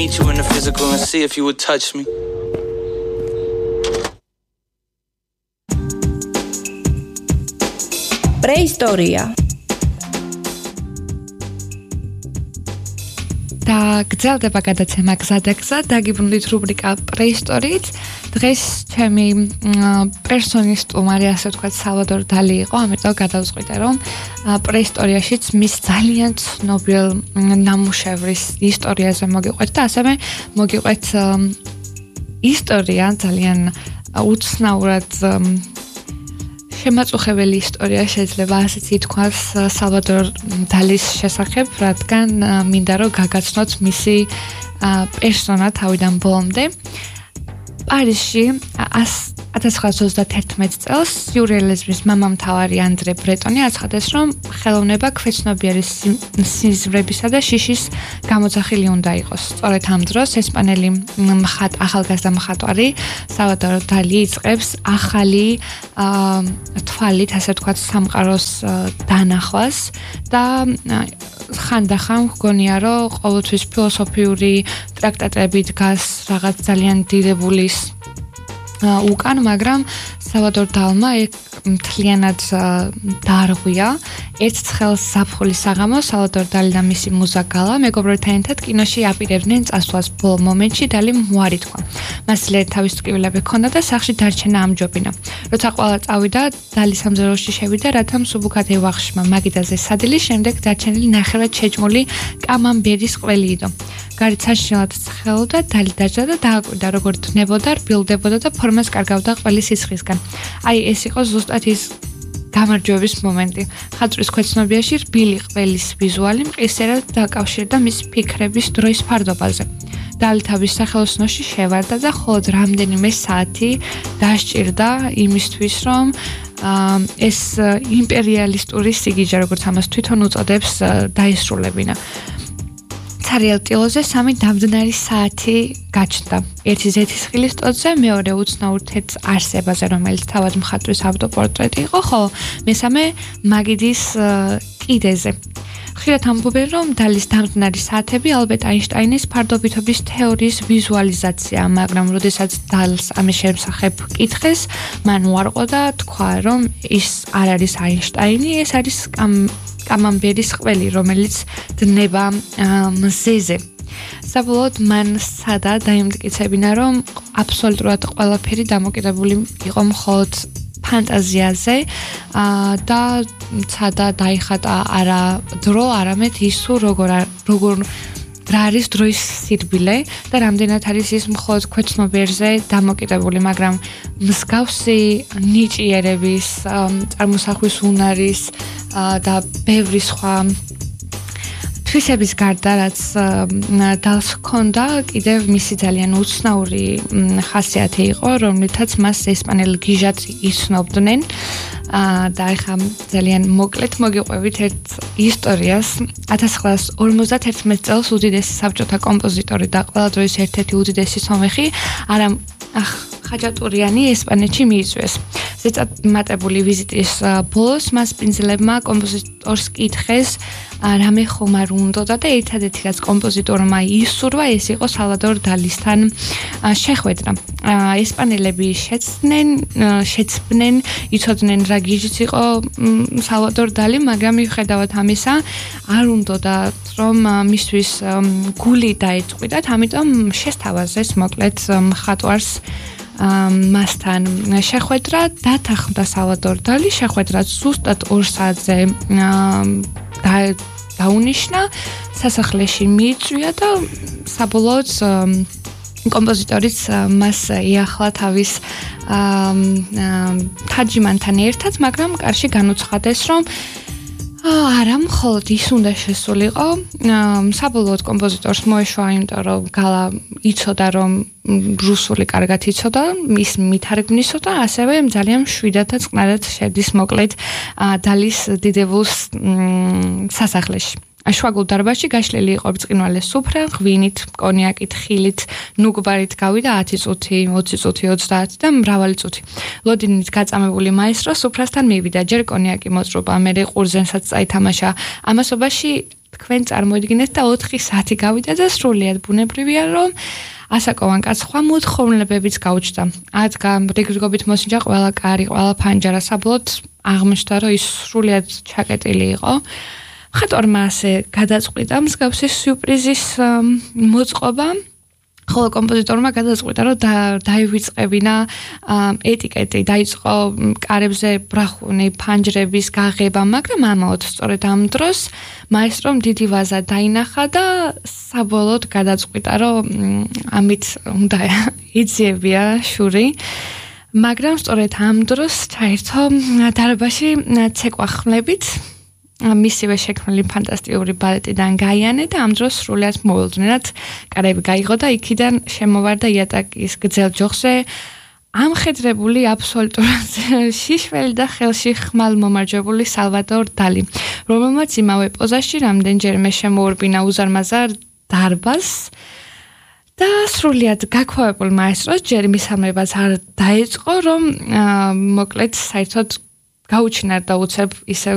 meet you in the physical and see if you would touch me. Prehistoria. და გრძელდება გადაცემა გზადაგზა დაგიბრუნდით რუბრიკა პრეისტორიით. დღეს ჩემი პერსონის სტუმარი, ასე ვთქვათ, სალვადორ დალი იყო, ამიტომ გადავწყვიტე, რომ პრეისტორიაშიც მის ძალიან ცნობილ ნამუშევრის ისტორიაზე მოგიყვეთ და ასევე მოგიყვეთ ისტორია ძალიან უცნაურად შემაწუხებელი ისტორია შეიძლება ასეც ითქვას სალვადორ დალის შესახებ, რადგან მინდა რომ გაგაცნოთ მისი პერსონა თავიდან ბოლომდე. პარიზში 1931 წელს სიურეალიზმის მამამთავარი ანდრე ბრეტონი აცხადეს, რომ ხელოვნება ქვეცნობიერი სიზმრებისა და შიშის გამოძახილი უნდა იყოს. სწორედ ამ დროს ესპანელი ახალგაზრდა მხატვარი სალვადორ დალი იწყებს ახალი თვალით, ასე ვთქვათ, სამყაროს დანახვას და ხანდახან გგონია, რომ ყოველთვის ფილოსოფიური ტრაქტატები დგას რაღაც ძალიან დიდებულის უკან, მაგრამ სალვადორ დალმა მთლიანად დაარღვია ერთ ცხელ ზაფხულის საღამოს სალვადორ დალი და მისი მუზა გალა მეგობრებთან ერთად კინოში აპირებდნენ წასვლას. ბოლო მომენტში დალი მოარი თქვა. მას ძლიერი თავის ტკივილები ჰქონდა და სახლში დარჩენა ამჯობინა. როცა ყველა წავიდა, დალი სამზარეულოში შევიდა, რათა მსუბუქად ევახშმა მაგიდაზე სადილის შემდეგ დარჩენილი ნახევრად შეჭმული კამამბერის ყველი იდო. გარეთ საშინელად ცხელოდა, დალი დაჯდა და დააკვირდა, როგორ დნებოდა, რბილდებოდა და ფორმას კარგავდა ყველი სისხლისგან. აი, ეს იყო ზუსტად ის გამარჯვების მომენტი. ხატვის ქვეცნობიაში რბილი ყველის ვიზუალი მყისერად დაკავშირდა მის ფიქრების დროის ფარდობაზე. დალი თავის სახელოსნოში შევარდა და მხოლოდ რამდენიმე საათი დასჭირდა იმისთვის, რომ ეს იმპერიალისტური სიგიჟე, როგორც ამას თვითონ უწოდებს, დაისრულებინა. ცარიელ ტილოზე 3 დამძნარი საათი გაჩნდა. ერთი ზეთისხილის ტოტზე, მეორე უცნაურ თეთრ არსებაზე, რომელიც თავად მხატვრის ავტოპორტრეტი იყო, ხოლო მესამე მაგიდის კიდეზე. ხშირად ამბობენ, რომ დალის დამძნარი საათები ალბერტ აინშტაინის ფარდობითობის თეორიის ვიზუალიზაცია, მაგრამ როდესაც დალს ამის შესახებ კითხეს, მან უარყო და თქვა, რომ ის არ არის აინშტაინი, ეს არის კამამბერის ყველი, რომელიც დნება მზეზე. საბოლოოდ მან სადა დაიმტკიცებინა, რომ აბსოლუტურად ყველაფერი დამოკიდებული იყო მხოლოდ ფანტაზიაზე და სადა დაიხატა არა დრო, არამედ ის როგორ რა არის დროის სირბილე და რამდენად არის ის მხოლოდ ქვეცნობიერზე დამოკიდებული, მაგრამ მსგავსი ნიჭიერების, წარმოსახვის უნარის და ბევრი სხვა თვისების გარდა, რაც დალს ჰქონდა, კიდევ მისი ძალიან უცნაური ხასიათი იყო, რომლითაც მას ესპანელ გიჟად იცნობდნენ. და ახლა ძალიან მოკლედ მოგიყვებით ერთ ისტორიას. 1951 წელს უდიდესი საბჭოთა კომპოზიტორი და ყველა დროის ერთ-ერთი უდიდესი სომეხი ხაჯატურიანი ესპანეთში მიიწვიეს. ზეწამატებული ვიზიტის ბოლოს მას პინძლებმა კომპოზიტორს კითხეს, რამე ხომ არ უნდოდა და ერთადერთი რაც კომპოზიტორმა ისურვა, ეს იყო სალვადორ დალისთან შეხვედრა. ესპანელები შეცბნენ, იცოდნენ რა გიჟიც იყო სალვადორ დალი, მაგრამ მიუხედავად ამისა არ უნდოდა რომ მისთვის გული დაეწყვიტათ, ამიტომ შესთავაზეს მოკლედ მხატვარს მასთან შეხვედრა დათანხმდა სალვადორ დალი. შეხვედრა ზუსტად 2 საათზე დაუნიშნა, სასახლეში მიიწვია და საბოლოოდ კომპოზიტორიც მას იახლა თავის თაჯიმანთან ერთად, მაგრამ კარში განუცხადეს, რომ არა, მხოლოდ ის უნდა შესულიყო. საბოლოოდ კომპოზიტორს მოეშვა, იმიტომ რომ გალა იცოდა, რომ რუსული კარგად იცოდა, ის მითარგმნისო და ასევე ძალიან მშვიდად და წყნარად შედის მოკლედ დალის დიდებულს სასახლეში. შუაგულ დარბაზში გაშლილი იყო ბრწყინვალე სუფრა, ღვინით, კონიაკით, ხილით, ნუგბარით გავიდა 10 წუთი, 20 წუთი, 30 და მრავალი წუთი. ლოდინით გაწამებული მაესტრო სუფრასთან მივიდა, ჯერ კონიაკი მოწრობა, მერე ყურძენსაც წაითამაშა. ამასობაში თქვენ წარმოიდგინეთ და 4 საათი გავიდა და სრულიად ბუნებრივია რომ ასაკოვან კაცს სხვა მოთხოვნილებებიც გაუჩნდა. ადგა რიგრიგობით მოსინჯა ყველა კარი, ყველა ფანჯარა საბოლოოდ აღმოჩნდა რომ ის სრულიად ჩაკეტილი იყო. მხატვარმა ასე გადაწყვიტა მსგავსი სიურპრიზის მოწყობა. ხოლო კომპოზიტორმა გადაწყვიტა რომ დაივიწყებინა ეტიკეტი, დაიწყო კარებზე ბრახუნი, ფანჯრების გაღება, მაგრამ ამაოდ სწორედ ამ დროს მაესტრომ დიდი ვაზა დაინახა და საბოლოოდ გადაწყვიტა რომ ამით უნდა იძიებია შური. მაგრამ სწორედ ამ დროს ჩაერთო დარბაზში ცეკვა ხმლებით მისივე შექმნილი ფანტასტიკური ბალეტიდან გაიანე და ამ დროს სრულიად მოულოდნელად კარები გაიღო და იქიდან შემოვარდა იატაკის გრძელ ჯოხზე ამხედრებული აბსოლუტურად შიშველი და ხელში ხმალ მომარჯვებული სალვადორ დალი, რომელმაც იმავე პოზაში რამდენჯერმე შემოურბინა უზარმაზარ დარბაზს და სრულიად გაქვავებულ მაესტროს ჯერ მისამრებას არ დაეწყო, რომ მოკლედ საერთოდ გაუჩინარდა უცებ ისევ